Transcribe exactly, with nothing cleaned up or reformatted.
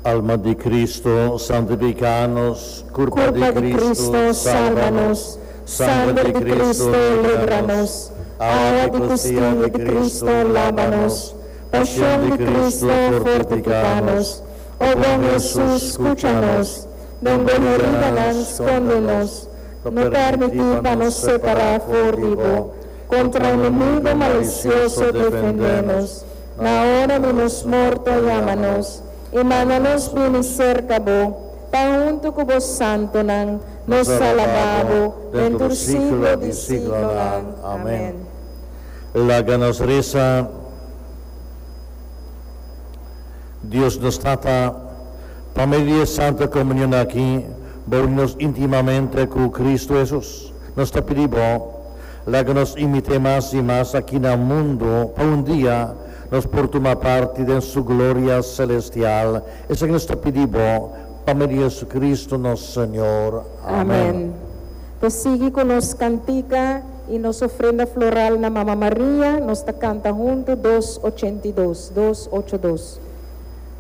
Alma di Cristo, santifícanos. Curpa Curpa di di Cristo, sálvanos. Sangre di Cristo, líbranos. Agua di costilla di Cristo, lávanos. Pasión di Cristo, fortifícanos. Oh buen Jesús, escúchanos. Den bo heridanan, sconde nos. No permití pa nos separá for di bo. Contra enemigo malicioso, defendé nos. Na ora di nos morto, yama nos. I manda nos bini serka bo, pa huntu ku bo santonan, nos alabá bo, den tur siglo di siglonan. Amèn. Laga nos resa. Dios nos Tata, pa medio di Santa Komunion aki, Bo a uni nos íntimamente ku Kristu Hesus. Nos ta pidi Bo, laga nos imit'é mas i mas aki na mundu, pa un dia nos por tuma parti den su gloria selestial. Esaki nos ta pidi Bo, pa medio di Hesukristu nos Señor. Amèn. Ta sigui ku nos kantika i nos ofrenda floral na Mama Maria, nos ta kanta huntu dos ochenta i dos, dos ocho dos.